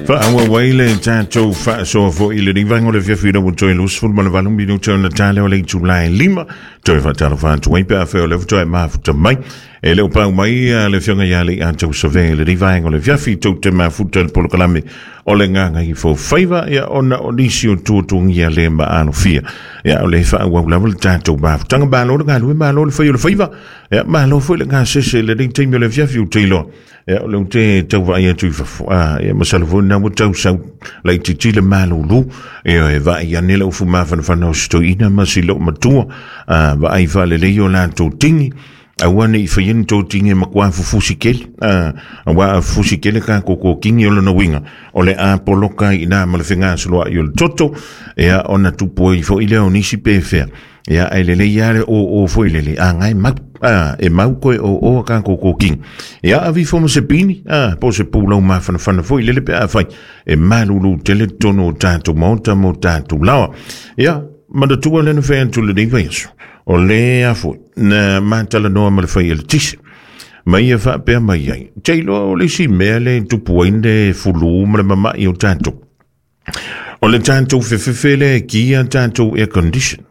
Faaauau ai le tatou faasoa foi i lenei vaega o le afiafi ina ua toe 28 minute ona tale o le itula e 5. Toe faatalofa atu ai pe afai o lea faatoa e mafuta mai. E le o pau mai le afioga ia Leiataua Savea i lenei vaega o le afiafi tou te mafuta i le polokalame o le Gagaifo Faiva, ia ona o nisi o tuatuagia le maalofia. Ia o le faaauau lava le tatou mafutaga. Malo le galue, malo le fai o le faiva. Ia malo foi le gasese i lenei taimi o le afiafi ou te iloa. Ia o lea ou te tau vaai atu i fafo, ia masalo foi lena ua tau sau laitiiti le malulu. Ia e vaai ane le ufu mafanafana o si toeaina ma si loomatua, vaai faalelei o latou tini, aua ne i faia ni tou tini e matua fufusi tele, aua a fufusi tele tatou totini o lona uiga, o le a poloka ai i ina ma le fegasoloai o le toto, ia ona tupu ai foi lea o nisi pefea. Ia, ae lelei lava le oo foi lele, a na e mau, e mau toe oo a tatou totini. Ia, ave ifo ma se pini, po o se pulau mafanafana foi lele pe afai e malulu tele totonu o tatou maota ma o tatou laoa. Ia, manatua lea na fai atu lenei vaiaso, o lea foi na matalanoa ma le fai eletise. Ma ia faapea mai ai, te iloa o le isi mea lea e tupu ai le fulu ma le mamai o tatou. O le tatou fefefe lea e ki a tatou air condition.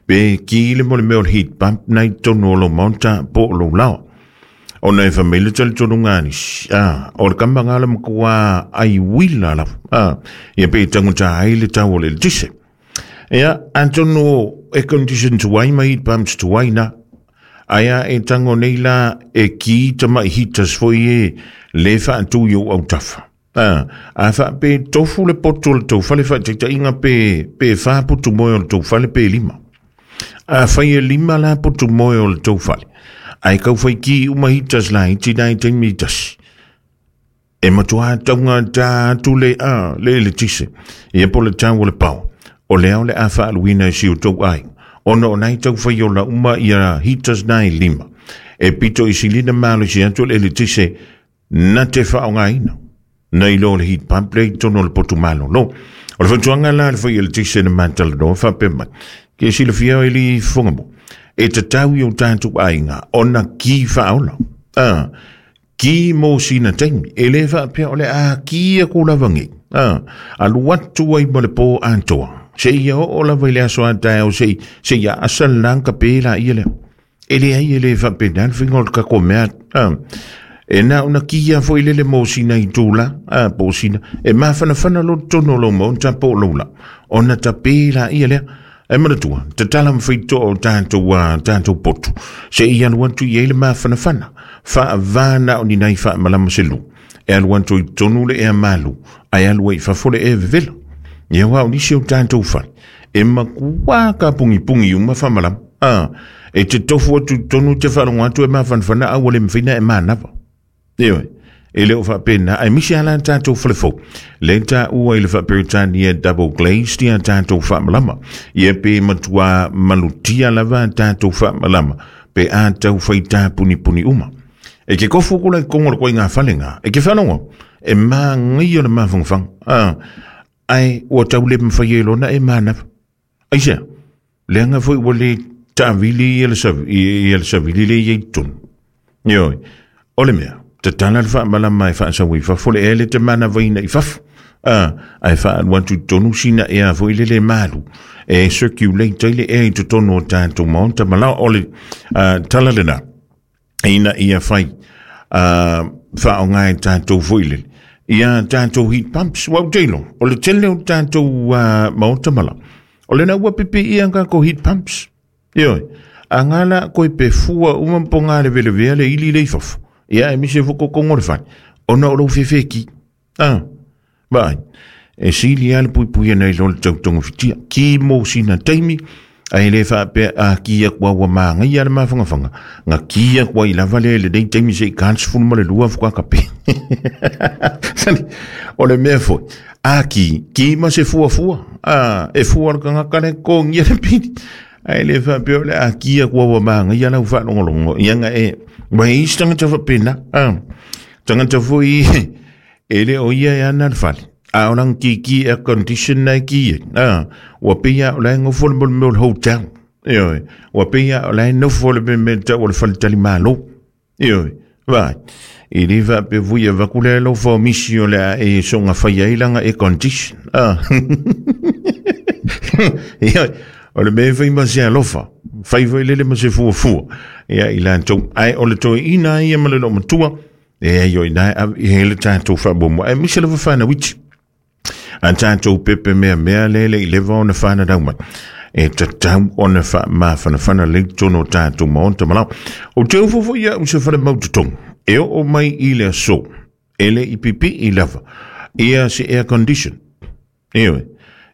Pe ki le mo le mea o le heat pump na i totonu o lou maota po o lou laoa. Ona e fai mai le talitonuga a nisi, o le kama nga le matua ai uila lava. Ia pe tagata ai le tau o le eletise. Ia, atonu o air condition tuai ma heat pumps tuai na. Ae a e tango nei la e ki tamai heaters foi e le faatu i ou autafa. A faape tofu le poto o le tou fale faataitaiga pe, pe fa putu moe o le tou fale pe lima. A fai e lima la putu moe o le tou fale, ae kau fai ki uma heaters laiti na i taimi e tasi. E matua taugata atu le a le eletise, ia po le tau o le power. O lea o le a faaluina e si o tou aiga, ona o nai tau fai ola uma ia heaters na e lima. E pito i sili na malosi atu le eletise na te faaaogaina nei lo le heat pump lea i totonu o le potu malolo. O le fautuaga la a le fai eletise na matalanoa faapea mai, ke silafia e li fofoga mo, e tatau i o tatou aiga ona ki faaola. Ki mo sina taimi, e le faapea o le a ki aku lava nei. Alu atu ai ma le pō atoa. Seia oo lava i le aso a taeao sei, seia asa le la ka pe la ia lea. E leai e le faapena le faiga o le tatou mea. E na ona kia foi lele mo sina itula, po o sina, e mafanafana loa totonu o lou maota po o lou lau, ona tape laia lea. Ae manatua, tatala ma faitotoa o tatou, tatou potu, seia alu atu i ai le mafanafana, faava na o ni nai faamalama se lu, e alu atu i totonu le ea malu, ae alu ai i fafo le ea vevela. Ia aua o nisi o tatou fale, e matua kapugipugi uma faamalama. E te tofu atu i totonu te faalogo atu e mafanafana a ua le mafai ona e manava. Ioe, e le o faapena, aemaise lava la tatou fale fou, lea e taua i le faa-Peretania double glazed ia tatou faamalama. Ia pe matua malutia lava tatou faamalama pe a tau fai tapunipuni uma. E ke kofu kula i kongo le koinga fale ngā, e ke whanongo, e māngaia le mafangafaga. Ae ua tau le mawhai e lona e mānawa. Aisea, leaga foi ua le taavili ia le savili le i ai totonu. Ioe, o le mea, tatala le faamalama e faasau ai fafo le ea le te manavaina i fafo. Ae faalu atu i totonu sina ea foi lele malu e circulate ai le ea i totonu o tatou maota ma lao. O le tala lena, ina ia fai faaaoga e tatou foi lele ia tatou heat pumps. Ua ou te iloa, o le tele o tatou maota ma lao, o lena ua pipiia tatou heat pumps. Ioe, a ngā la koe pe fua uma po ngā levelevea le ili le i fafo, ia aemaise foi totogo o le fale, ona o lou fefe ki. Vaai, e sili lava le puipuia nai lo le tau togafitia. Ki mo sina taimi, ae le faapea a ki atu a ua māgaia le mafangafaga, na ki atu ai lava lea i lenei taimi seia ta le 12 faatoa tape. O le mea foi, a ki, ki ma se fuafua, e fua le tagata le totogia le pili. Ae le faapea o le a ki atu a ua māgaia lau faalogologo, ia na e, ua i ai isi tagata faapena, tagata foi e le o ia e ana le fale, a o lana kiki air condition na e ki ai, ua pei lava o la e nofo le mea o le hotel, ioe, ua pei lava o la e nofo le mea tau o le faletalimalo, ioe, vaai. I le faapea foi avatu le alofa o misi o le a e soga fai ai laga air condition. Ah. Ia, o le mea fai ma se alofa, fai foi lele ma se fuafua. Ia, i latou, ae o le toeaina ia ma le loomatua, e ai o ina e ave i ai le tatou faamuamua. Aemaise lava fanau iti. A tatou pepe mea mea le le i leva ona whanarau mai. E tatau ona whaamafanafana le tono o tatou maota malao. O te ufo foi ia u se whare mau totongu. E o mai i le aso. E le i pipi i lava. Ia se air condition. Ewe.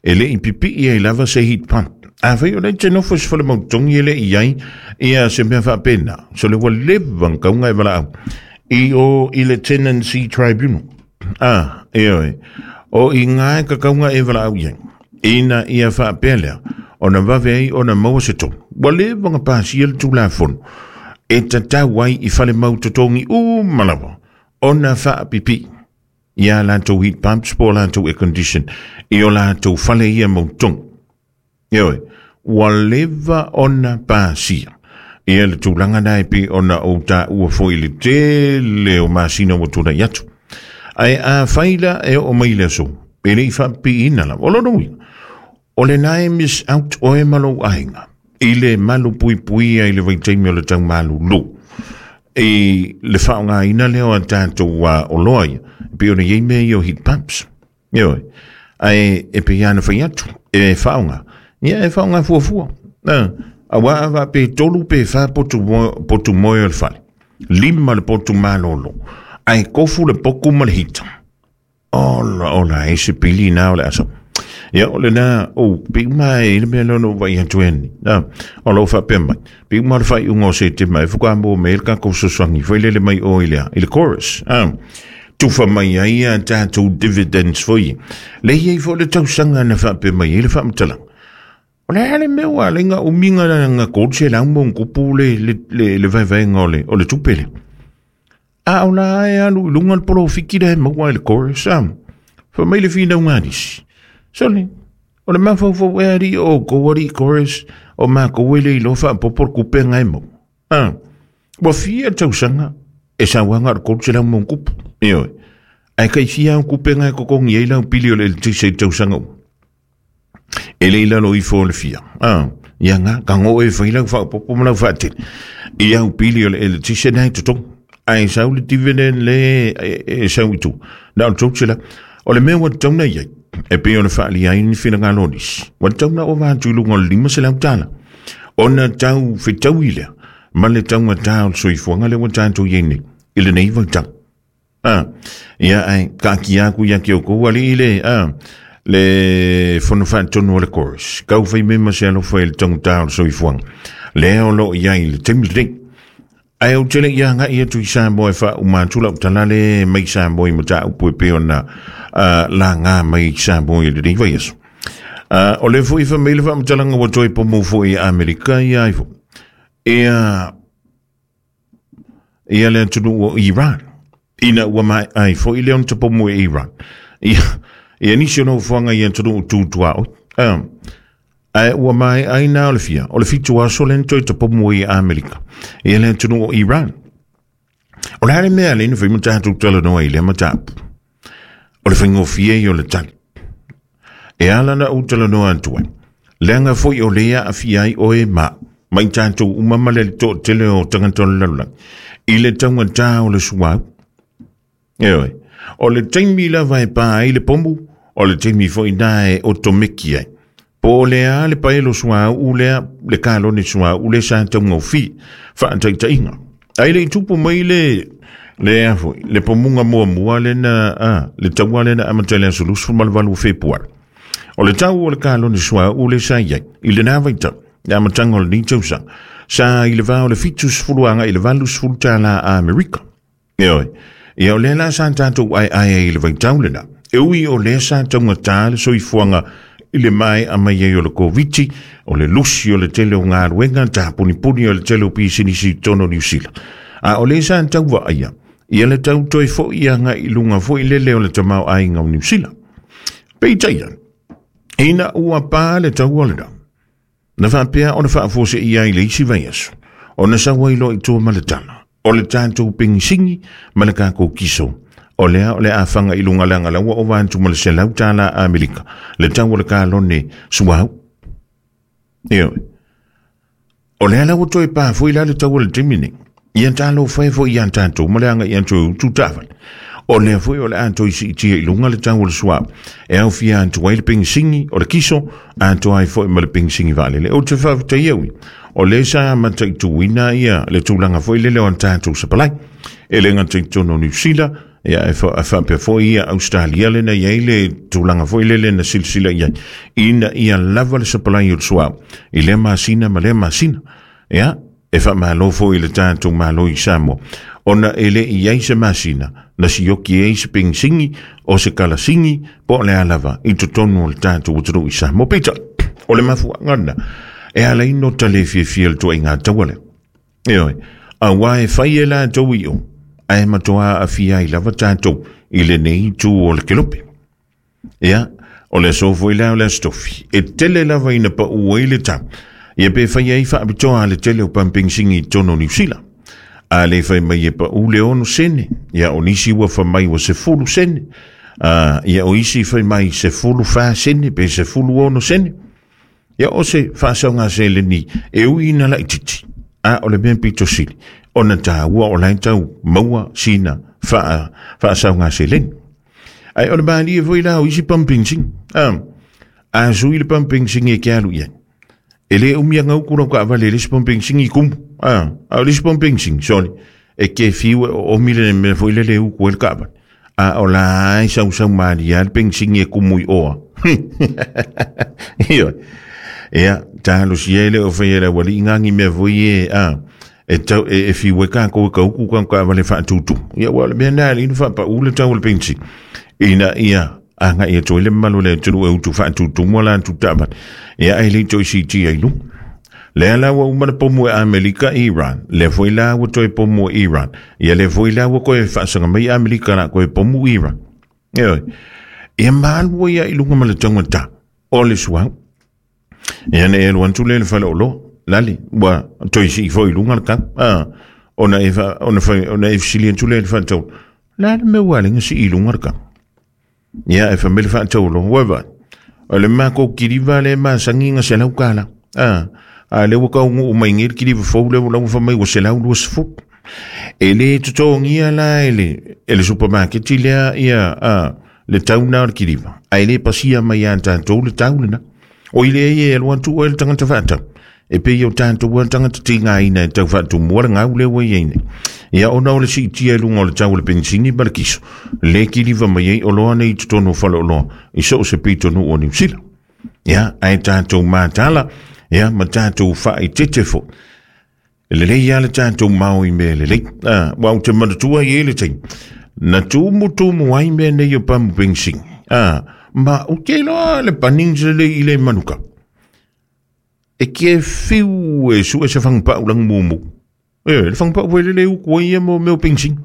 E le i pipi i ai lava se heat pump. A fai o le te nofo se whare mau totongi e le i ai. Ia se mea whaapena. So le ua leva ngaunga e wala au. I o i le Tenancy Tribunal. Ah, eoe. O i ngā ka kaunga e wala au iai. Ina ia whaapea lea, ona vave ai ona maua se tonu. Ua leva nga pasia le tulafono. E tatau ai i whare mau totongi u malawa. Ona whaapipi. Ia latou heat pumps po latou air condition. I o latou whale ia mau tongi. Eoe, ua leva ona pasia. Ia le tulaga na e pei ona ou taua foi i le tele o masina ua tulai atu. Ae afai la e oo mai le aso, e le i faapipiina lava. O lona uiga, o lena e miss out oe ma lou aiga i le malu puipuia i le vaitaimi o le taumalulu. I le faaaogaina lea o a tatou oloa ia, e pei ona i ai mea ia o heat pumps. Ioe. Ae e pei lava ona fai atu, e faaaoga. Ia e faaaoga fuafua. Aua a faapea 3 pe 4 potu moe, potu moe o le fale. 5 le potu malolo. Ae kofu le poku ma le hita. Ola, ola, e se pili na o le asa. Ia, o lena, o, pe uma e le mea lea na ou vaai atu ai nei. O lou faapea mai, pe uma le faaiuga o Setema e fuka mo me le tatou fesoasoani foi lele mai o i le, i le chorus. Tufa mai ai a tatou dividends foi. Le i ai foi le tausaga na faapea mai ai le faamatalaga. O le a le mea ua ala ai nga umi nga nga 300 ma ona tupu le le le, le vaevaega o le o le tupe lea. A o la e alu i luga le polofiki lea e maua i le chorus, a. Fai mai le finauga a nisi. Sole, o le mafaufau ea alii o outou alii chorus o matou e le iloa faapopo le tupe nga e maua. A, ua fia tausaga e sau lava na o le 300 ma ona tupu. Ioe. Ae tai fia au tupe nga e totogi ai lau pili o le eletise i le tausaga uma. E le i lalo ifo o le fia. A, ia nga, ka ngo e fai lau faapopo ma lau faatele. I au pili o le eletise na e totogi. Ae sau le dividend le e sau i tua. Na o le 300. O le mea ua tatau ona i ai, e pei ona faaalia ai ni finagalo o nisi, ua tatau ona ova atu i luga o le $500 ona tau fetaui lea ma le taugata o le soifuaga lea ua tatou i ai nei i lenei vaitau. A, ia ae taatia atu ia te outou alii le, a, le fono faatonu o le chorus. Kau fai mai ma se alofa i le taugata o le soifuaga lea o lo o i ai i le taimi lenei. Ae ou te le i agai atu i Samoa e faauma atu lau tala le mai Samoa i mataupu e pei ona laga mai i Samoa i lenei vaiaso. O lea foi fai mai le faamatalaga ua toe pomu foi i Amerika ia ai foi. Ia, ia le atunuu o Iran. Ina ua maea ai foi lea ona tapomu e Iran. Ia, ia nisi o nofoaga i atunuu tu tuaoi. Ae ua maea ai na o le fia, o le 7 aso lea na toe tapomu ai e Amerika. Ia le atunuu o Iran. O le a le mea lea na fai ma tatou talanoa i lea mataupu? O le faigofie ia o le tali. E ala na ou talanoa atu ai, leaga foi o lea aafia ai oe ma au, ma i tatou uma ma le toatele o tagata o le lalolagi, i le taugata o le suauu. Ioe, o le taimi lava e pā ai le pomu, o le taimi foi na e otomeki ai. Po o le a le paelo suauu lea, le kalone suauu lea sa taugofie, faataitaiga. Ae le i tupu mai le le a foi, le pomuga muamua lea na, a, le taua lea na amata i le aso 28 o Fepuari. O le tau o le kalone suauu lea sa i ai, i lena vaitau, le amataga o lenei tausaga, sa i le va o le 70 agai i le 80 tala Amerika. Ioe, ia o lea la sa tatou aeae ai i le vaitau lena. E ui o lea sa taugata le soifuaga i le maea mai ai o le Koviti, o le lusi o le tele o galuega, tapunipuni o le tele o pisinisi i totonu o Niu Sila. A o lea sa tau vaaia, ia le tau toe foi agai i luga foi lele o le tamaoaiga o Niu Sila. Peitai ane, ina ua pa le taua lena, na faapea ona faafuaseia ai i le isi vaiaso, ona sau ai loa i tua ma le tala. O le tatou penisini ma le tatou kiso. O lea o le a faga i luga leaga la ua ova atu ma le $100 Amerika le tau o le kalone suauu. Ioe. O lea la ua toe pa foi la le tau o le taimi nei. Ia talofa e foi ia tatou ma le agai atu e utu taavale. O lea foi o le a toe siitia i luga le tau o le suauu e aofia atu ai le penisini o le kiso atoa ai foi ma le penisini vaalele. Ou te faafetai au ia, o lea sa mataituina ia le tulaga foi lele o a tatou sapalai. E le gata i totonu o Niu Sila, ia e faapea foi ia Australia lena i ai le tulaga foi lele na silasila i ai, ina ia lava le sapalai o le suauu i lea masina ma lea masina. Ia, e faamalo foi i le tatou Malo i Samoa, ona e le i ai se masina na sioki ai se penisini o se kalasini po o le a lava i totonu o le tatou atunuu i Samoa. Peitai, o le mafuaaga lena e ala ai no ta le fiafia i le tuaiga taua lea. Ioe, aua e fai e latou i o, ae matua aafia ai lava tatou i lenei itu o le kelope. Ia, o le aso foi lea o le Aso Tofi, e tele lava ina pau ai le tau, ia pe fai ai faapitoa le tele o pamu penisini i totonu o Niu Sila. A le fai mai e pau le 6 sene, ia o nisi ua fai mai ua 10 sene, ia o isi fai mai 14 sene pe 16 sene. Ia o se faasaoga seleni e ui ina laitiiti, a o le mea pito sili, ona taua o la e tau maua sina faasaoga seleni. Ai o le malie foi la o isi pamu penisini. A sui le pamu penisini e ke alu i ai. E le umi anga uku lau kaavale i le isi pamu penisini i kumu. A o le isi pamu penisini, sorry, e ke fiu e o omi le mea foi le le uku e le kaavale. A o la e sausau malie le penisini e kumu i oa. Ioe. Ia, talosia e le o whai e le wali ngangi mea foi e, e tau e fiu e kākou e ka uku ka kaavale faatutu. Ia ua o le mea nā le inu faapau le tau o le penisini. Ina ia agai atu ai le mamalu o le atunuu e utu faatutu mo latou taavale. Ia ae le toe siitia i luga. Lea la ua uma le pomu e Amerika i Iran. Lea foi la ua toe pomu e Iran. Ia lea foi la ua koe faasaga mai Amerika la koe pomu Iran. Ioe. Ia malu ai i luga ma le taugata o le suauu. Ia ne i alu atu lea i le faleoloa, lale, ua toe sii foi i luga le tau. Ona e ona fai, ona e fesili atu lea i le faatau, le a le mea ua ala ai ona sii i luga le tau? Ia, e fai mai le faatauoloa, ua vaai, o le matou kiliva lea e masani na $100. A lea ua taunuu mai nei le kiliva fou lea ua fai mai ua $120. E le totogia la e le supamaketi lea ia le tau na o le kiliva, ae le pasia mai ia tatou le tau lena. O i lea e alu atu oe le tagata faatau, e pei o tatou a tagata tigaina e tau faatumua le gau lea ua i ai nei. Ia ona o le siitia i luga o le tau o le penisini ma le kiso, le kiliva mai ai oloa nei i totonu o faleoloa i so o se pitonuu o Niu Sila. Ia, ae tatou matala, ia, ma tatou faaeteete foi. E lelei lava le tatou mao i mea lelei. Ua ou te manatua i ai le taimi, na tumutumu ai mea nei o pamu penisini. Ma ou te iloa le Bunnings lelei i le manuka. E ke fiu e sue se fagupau lagu mumu. E, le fagupau foi lele uku ai ia mo mea o penisini.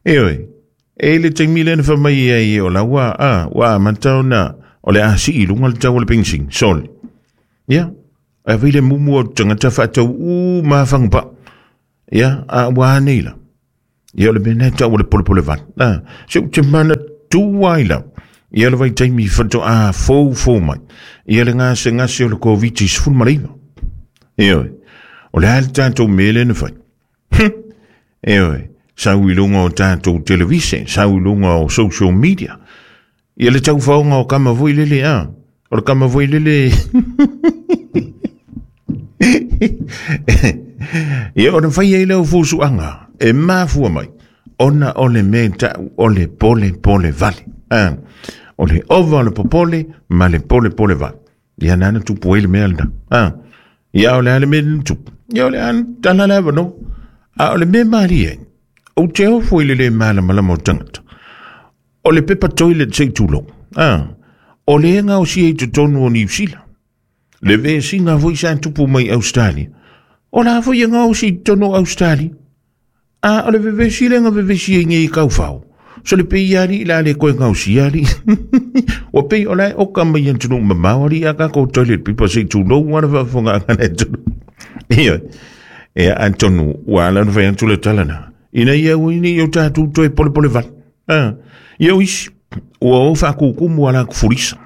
E oe, e le taimi lea na fai mai ai o la ua, ua amata ona o le a sii i luga le tau o le penisini. Sorry. Ia, ae fai le mumu o tagata faatau uma fagupau. Ia, a ua a nei la. Ia o le mea lena e tau o le polepole vale. Se ou te manatua ai lau. Ia le vaitaimi faatoa foufou mai. Ia le gasegase o le Koviti-19. Ioe, o le a le tatou mea lea na fai? Ioe, sau i luga o tatou televise, sau i luga o social media. Ia le taufaoga o kama foi lele, a. O le kama foi lele. Ia ona fai ai lea o fusuaga e mafua mai ona o le mea tau o le pole pole vale. O le ova o le popole ma le pole pole vale. Ia nana tupu ai le mea lena. Ia o le a le mea lena tupu. Ia o le a tala le avanoa. A o le mea malie, ou te ofo i le le malamalama o tagata. O le pepa toilet se i tulou. O le gaosia i totonu o Niu Sila. Le vesiga foi sa tupu mai Australia. O la foi e gaosi i totonu o Australia. A o le vevesi lea na vevesi ai nei i kaufao. So le pei ali la le koe gaosia ali. Ua pei o la e oka mai atunuu mamao ali a kākou toilet paper se i tulou a le faafofoga a le atunuu. Ioe. Ia atonu ua ala ona fai atu le tala na. Ina ia aua nei o tatou toe polepole vale. Ia o isi, ua o faakukumu a latou fulisa.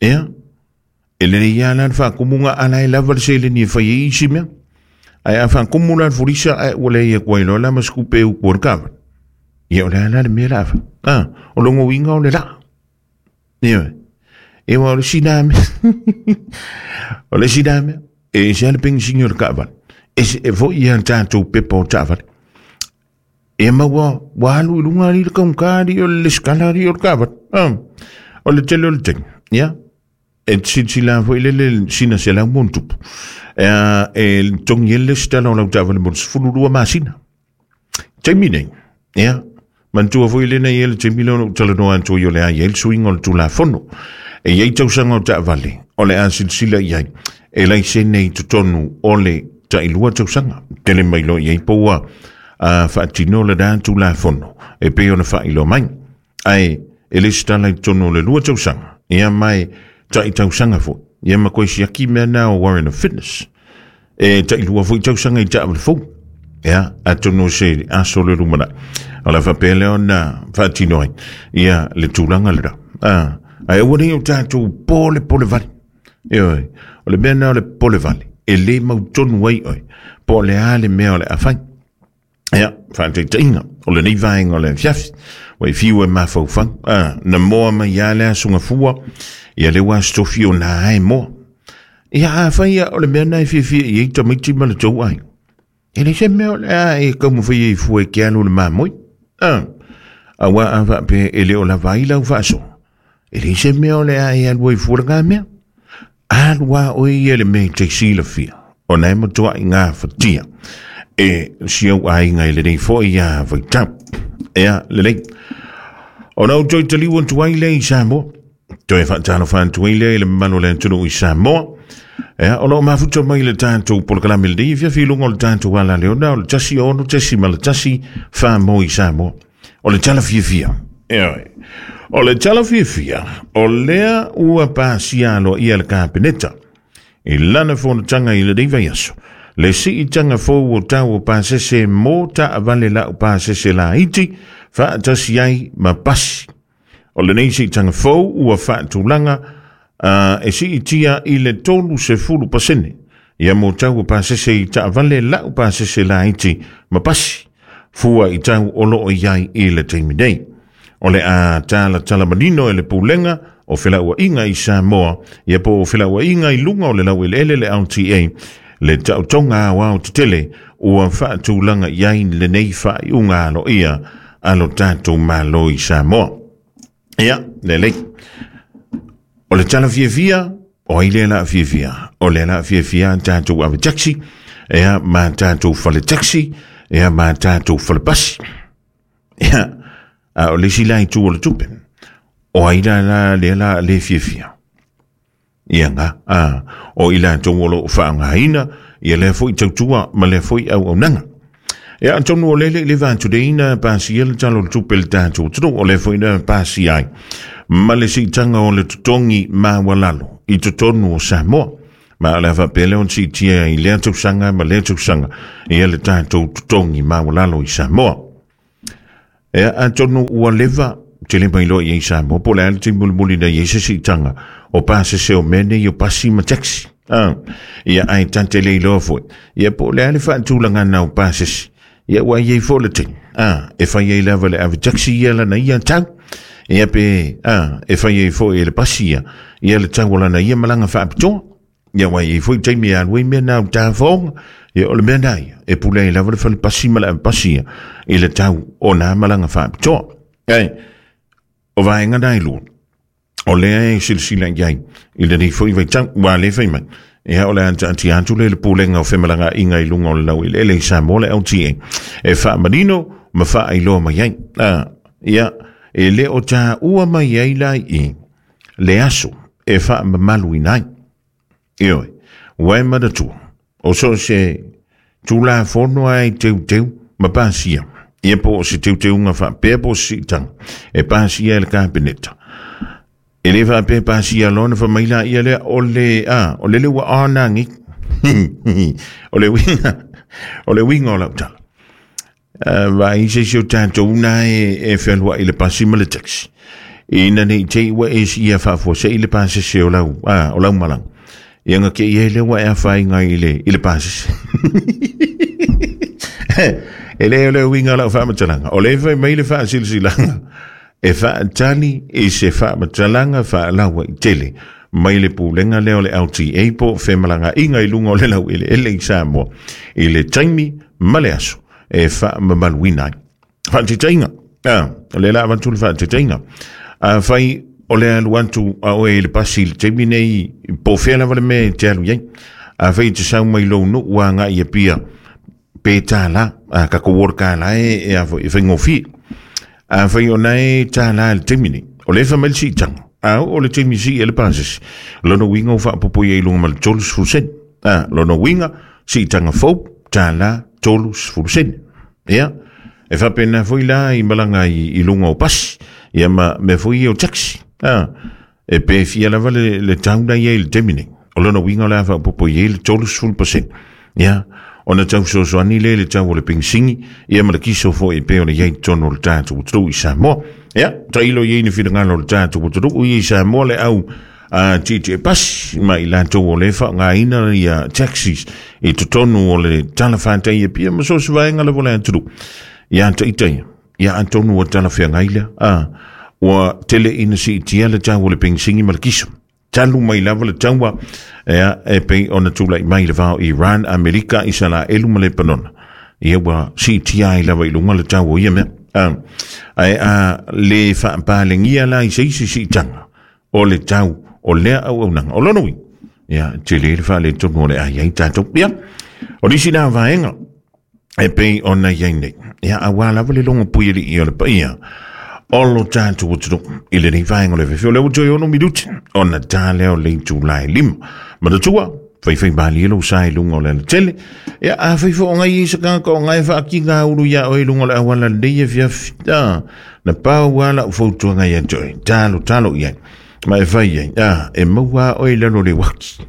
Ia, e lelei lava la le faakumuga a la e lava le seleni e fai ai isi mea. Ae a faakumu la le fulisa ae ua leai atu ai loa la ma se tupe e utu ai le taavale. Ia o le a la le mea la a fai? O lona uiga o le laa. Ioe. E ua o le isi lena mea. O le isi lena mea. E ese lava le penisini o le taavale. Ese e foi ia tatou pepa o taavale. E ma ua, ua alu i luga alii le taugata alii o le lesitala alii o le taavale. O le tele o le taimi. Ia. E silasila foi lele sina 100+. E togi ai le lesitala o lau taavale mo le 12 masina. Taimi nei, ia, manatua foi lena i ai le taimi lea o lou talanoa atu ai o le a i ai le suiga o le Tulafono. E i ai tausaga o taavale o le a silasila i ai e laisene i totonu o le tailua tausaga. Tele mai loa i ai po ua faatino lena Tulafono e pei ona faailoa mai. Ae e lesitala i totonu o le 2 tausaga, ia ma e tai tausaga foi, ia ma koe siaki mea na o Warrant of Fitness. E tailua foi tausaga i taavale fou. Ia, atonu o se aso le lumanai. O le faapea lea ona faatino ai ia le tulaga lena. Ae aua nei o tatou polepole vale. Ioe, o le mea lena o le pole vale, e le mautonu ai oe, po o le a le mea o le a fai. Ia, faataitaiga, o lenei vaega o le afiafi, ua e fiu e mafaufau, na moa mai lava le aso Gafua, ia lea ua aso Tofi o na e moa. Ia, afai ia o le mea lena e fiafia i ai tamaiti ma le tou aiga, e leai se mea o le a e taumafai ai fua e te alu i le mamoe. Aua a faapea e le o lava ai lau faasoa, e leai se mea o le a e alu ai fua lena mea. Alu lava oe ia i le mea e te silafia, ona e matuai gafatia e si ou aiga i lenei foi vaitau. Ea, lelei. Ona ou toe taliu atu ai lea i Samoa, toe faatalofa atu ai lea i le mamalu o le atunuu i Samoa. Ea, o lo o mafuta mai le tatou polokalame lenei, fiafi i luga o le tatou ala leona, o le 16.1 wha i Samoa. O le tala fiafia. Ioe. O le tala fiafia, o lea ua pasia aloaia le Kapeneta i lana fonotaga i lenei vaiaso, le siitaga fou o tau o pasese mo taavale lau pasese laiti faatasi ai ma pasi. O lenei siitaga fou ua faatulaga e siitia i le 30% ia mo tau o pasese i taavale lau pasese laiti ma pasi, fua i tau o lo o i ai i le taimi nei. O le a talatala manino e le Pulega o Felauaiga i Samoa, ia po o Felauaiga i luga o le laueleele le LTA, le taotoga aoao tetele ua faatulaga i ai lenei faaiuga aloaia a lo tatou Malo i Samoa. Ia, lelei. O le tala fiafia, o ai lea la fiafia? O lea la fiafia a tatou ave taxi, ea ma tatou fale taxi, ea ma tatou fale pasi. Ia, a o le isi la itu o le tupe, o ai la la lea la le fiafia? Ia nga, o i latou o lo o faaaogaina ia lea foi tautua ma lea foi auaunaga. Ia, atonu o lele i le va atu nei na pasia le Tala o le Tupe i le tatou atunuu, o lea foi na pasia ai ma le siitaga o le totogi maualalo i totonu o Samoa. Ma o le a faapea lea ona siitia i lea tausaga ma lea tausaga ia le tatou totogi maualalo i Samoa. Ea, atonu ua leva, tele mai loa i ai Samoa, po o le a le taimi mulimuli na i ai se siitaga o pasese o mea nei o pasi ma taxi. Ia, ae ta te le iloa foi, ia po o le a le faatulagana o pasese, ia ua i ai foi le taimi, e fai ai lava le ave taxi ia lana ia tau, ia pe, e fai ai foi e le pasi ia, ia le tau o lana ia malaga faapitoa. Ia aua e i ai foi taimi e alu ai mea na o tafaoga. Ia o le mea na ia, e pule ai lava le fale pasi ma le ave pasi ia i le tau o nā malaga faapitoa. Ae, o vaega na e lua, o lea e silasila i ai i lenei foi vaitau, ua le fai mai. Ia o le a taatia atu lea i le Pulega o Femalagaaiga i luga o le laueleele i Samoa le LTA e faamanino ma faailoa mai ai. Ia, e le o taua mai ai la i i le aso e faamamaluina ai. Ioe, ua e manatua, o so o se Tulafono lava e teuteu ma pasia, ia po o se teuteuga faapea po o se siitaga, e pasia e le Kapeneta. E le faapea pasia loa ona fai mai laia lea, o le, a, o lele ua ona agi. O le uiga, o le uiga o lau tala. Vaai se isi o tatou na e fealuai i le pasi ma le taxi. Ina ne i te i ua e siia faafuasei le pasese o lau, o lau malaga. Ia nga ke i ai lea ua e afaina i le pasese. E le o le uiga o lau faamatalaga. O le fai mai le faasilasilaga e faatali i se faamatalaga faalauaitele mai le pulega lea o le LTA po o femalagaaiga i luga o le laueleele i Samoa i le taimi ma le aso e faamamaluina ai. Faataitaiga, o lea la avatu le faataitaiga. Afai o le alu atu a oe i le pasi i le taimi nei, po o fea lava le mea e te alu i ai. Afai e te sau mai lou nuu agai i Apia, pe $1, tatou o le $1 e a foi, e faigofie. Afai o na e $1 i le taimi nei, o lea e fai mai le siitaga, a oo le taimi sii ai le pasese, lona uiga ua faaopoopo i ai i luga ma le 30 sene. Lona uiga, siitaga fou, $1.30 sene. Ia, e faapena foi la i malaga i luga o pasi, ia ma mea foi ia o taxi. E pe fia lava le tau la i ai i le taimi nei. O lona uiga o le a faaopoopo i ai le 30%. Ia, ona tau fesoasoani lea i le tau o le penisini, ia ma le kiso foi e pei ona i ai i totonu o le tatou atunuu i Samoa. Ia, tailo i ai ni finagalo o le tatou atunuu ia i Samoa le au tietie pasi ma i latou o lea e faaaogaina ia taxis i totonu o le talafatai i Apia ma so o se vaega lava o le atunuu. Ia ita ia, ia atonu ua talafeagai lea. Ua tele ina siitia le tau o le penisini ma le kiso. Talu mai lava le taua ia, e pei ona tulai mai le va o Iran, Amerika, Isalaelu ma Lepanona. Ia ua siitia ai lava i luga le tau o ia mea. Ae a le faapalegia la i se isi siitaga o le tau o lea auaunaga. O lona uiga, ia, tele le faaletonu o le a i ai tatou. Ia, o nisi na vaega e pei ona i ai nei. Ia, aua lava le logo puialii o le paia o lo tatou atunuu i lenei vaega o le afiafi. O lea ua toe 6 minuti ona ta lea o le itula e 5. Manatua, faifai malie lou sa i luga o le alatele. Ia, afai foi o ngai i se tagata o ngai e faakiga ulu iā oe i luga o le auala lenei afiafi. Na pau lava lau fautuaga ia te oe, talo talo i ai. Ma e fai ai, e maua oe i lalo o le uaki.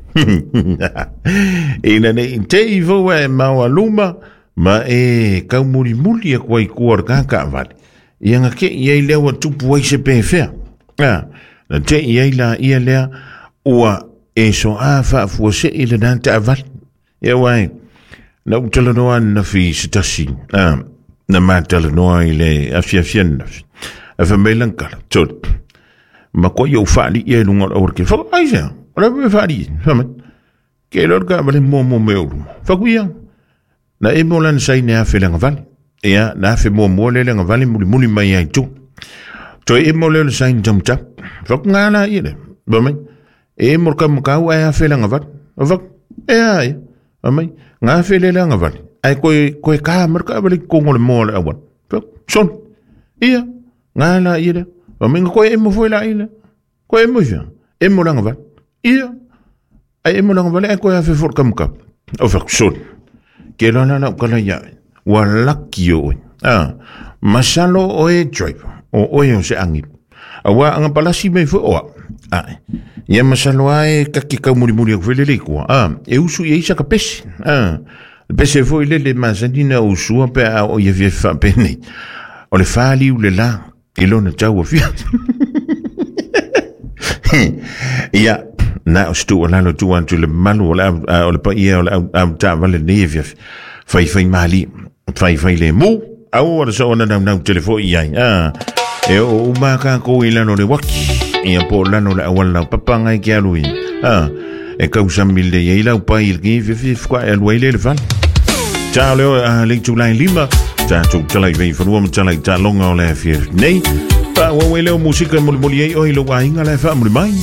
Ina ne i te i fou e maua luma, ma e kaumulimuli aku ai kua o le kakavale. Ia nga ke i ai lea ua tupu ai se pefea. Na te i ai la ia lea ua e so a faafuasei lena taavale. Ia uai, na ou talanoa ananafi i se tasi, na ma talanoa i le afiafi ananafi. Ae fai mai lana tala, Tony, matua ou faalii ai i luga o le aualatele. Fai atu, aisea? O le a le mea e faalii ai? Fai mai, ke iloa le taavale muamua mai ou luma. Fai atu, ia, na emo lana saine afe le agavale. Ia, na afe muamua lea le agavale mulimuli mai ai i tua. Toe emo lea o le saine taumatau. Fai atu, ngā la ia lea. Fai mai, E mo le kaumakau ae afe le agavale. O fai atu, e a ia. Fai mai, nga afe lea le agavale, ae koe, koe ka mai le taavale i totonu o le moa o le auala. Fai atu, sole, ia, nga la ia lea. Fai mai, nga koe emo foi la ia lea. Koe emo i fea? Emo le agavale. Ia, ae emo le agavale ae koe afe foi le kaumakau. O fai atu, sole, ke loa la lau tala ia oe, ua laki oe. Masalo oe driver, o oe o se agelu. Aua anga palasi mai foi o au. Ae. Ia masalo lava e kaki kaumulimuli atu foi lele i tua. E usu i ai saka pese. Le pese foi lele masani na usua pe a oo i afiafi faapenei. O le faliu le la i lona tau afiafi. Ia, na o se tuualalo tuu atu i le mamalu o le au, o le paia o le au, au taavale lenei afiafi. Faifai malie, faifai lemu, aua le soona naunau tele foi i ai. E oo uma kākou i lalo o le uaki, ia po o lalo o le auala laupapa ngai ke alu i. E kausami lelei ai lau pai i lenei afiafi e fukae alu ai lea i le fale. Ta leo le itula e 5, tatou tala i veifanua ma tala i taaloga o le afiafi nei. Faaauau ai lea o musika e molimoli ai oe i lou aiga la e faamuli mai.